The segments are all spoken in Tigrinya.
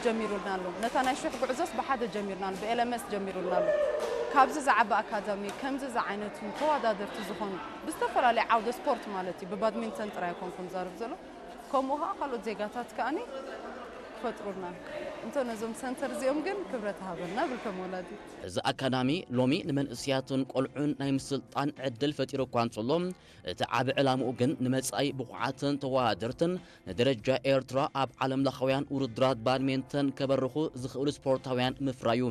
ጀሚሩልና ኣሎ። ነታ ናይ ሽሕ ጉዕዞስ ብሓደ ጀሚርና ኣሎ፣ ብኤልኤምኤስ ጀሚሩልና ኣሎ። ካብዚ ዝዓበ ኣካዳሚ፣ ከምዚ ዝዓይነቱ ተወዳደርቲ ዝኾኑ ብዝተፈላለየ ዓውደ ስፖርት ማለት እዩ፣ ብባድሚንተን ጥራይ ኣይኮንኩን ዛርብ ዘሎ፣ ከምኡ ኸዓ ካልኦት ዜጋታት ከኣኒ ክፈጥሩልና። እንተ ነዞም ሰንተር እዚኦም ግን ክብረት ሃበልና ብል ከም ወላዲት። እዚ ኣካዳሚ ሎሚ ንመንእሰያትን ቆልዑን ናይ ምስልጣን ዕድል ፈጢሩ እኳ እንተሎ፣ እቲ ዓቢ ዕላምኡ ግን ንመጻኢ ብቑዓትን ተወዳደርትን ንደረጃ ኤርትራ ኣብ ዓለምለኻውያን ውድድራት ባድሜንተን ከበርኹ ዝኽእሉ ስፖርታውያን ምፍራዩ።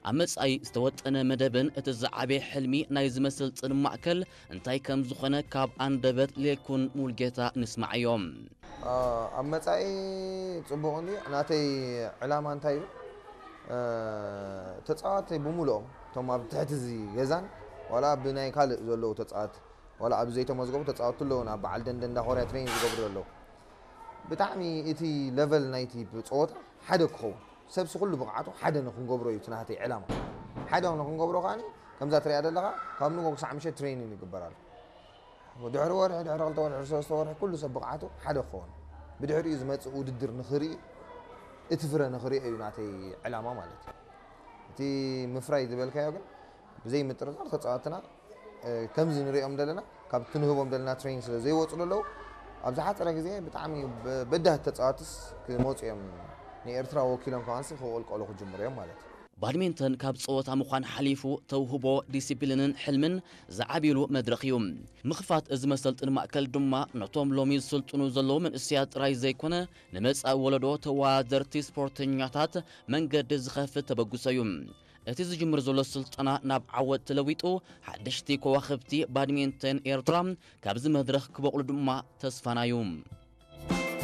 ኣብ መጻኢ ዝተወጠነ መደብን እቲ ዝዓበየ ሕልሚ ናይ ዝመስል ጽን ማእከል እንታይ ከም ዝኾነ ካብ ኣንደበት ሌኩን ሙልጌታ ንስማዓዮም። ኣብ መጻኢ ጽቡቕ እንዲ ናተይ ዕላማ እንታይ እዩ? ተጻዋተይ ብምልኦም እቶም ኣብ ትሕቲ እዚ ገዛን ዋላ ብናይ ካልእ ዘለዉ ተጻዋት ዋላ ኣብ ዘይተመዝገቡ ተጻወቱ ኣለዉ ናብ በዓል ደንደን እንዳ ኮርያ ትሬኒንግ ዝገብሩ ዘለዉ ብጣዕሚ እቲ ለቨል ናይቲ ጸወታ ሓደ ክኸውን ሰብሲ ኩሉ ብቕዓቱ ሓደ ንክንገብሮ እዩ እቲ ናተይ ዕላማ ሓደ ንክንገብሮ ከዓኒ ከምዛ ትሪኣ ዘለኻ ካብ ንጎ ክሳዕ ምሸት ትሬኒንግ ይግበር ኣሎ ድሕሪ ወርሒ ድሕሪ ክልተ ወርሒ ሰለስተ ወርሒ ኩሉ ሰብ ብቕዓቱ ሓደ ክኸውን ብድሕሪኡ ዝመፅእ ውድድር ንክርኢ እቲ ፍረ ንክሪኦ እዩ ናተይ ዕላማ ማለት እዩ እቲ ምፍራይ ዝበልካዮ ግን ብዘይ ምጥርጣር ተፃወትና ከምዚ ንሪኦም ዘለና ካብ ትንህቦም ዘለና ትሬኒንግ ስለ ዘይወፁ ዘለዉ ኣብ ዝሓፀረ ግዜ ብጣዕሚ በዳህት ተፃወትስ ክመፁ እዮም ንኤርትራ ወኪሎም ከማንስ ክቕልቀሉ ክጅምሩ እዮም ማለት እዩ ባድሚንተን ካብ ጸወታ ምዃን ሓሊፉ ተውህቦ፣ ዲሲፕሊንን ሕልምን ዝዓብይሉ መድረኽ እዩ። ምኽፋት እዚ መሰልጥኒ ማእከል ድማ ነቶም ሎሚ ዝስልጥኑ ዘለዉ መንእሰያት ጥራይ ዘይኮነ ንመጻኢ ወለዶ ተወዳደርቲ ስፖርተኛታት መንገዲ ዝኸፍት ተበግሶ እዩ። እቲ ዝጅምር ዘሎ ስልጠና ናብ ዓወት ተለዊጡ ሓደሽቲ ከዋኽብቲ ባድሚንተን ኤርትራ ካብዚ መድረኽ ክበቑሉ ድማ ተስፋና እዩ።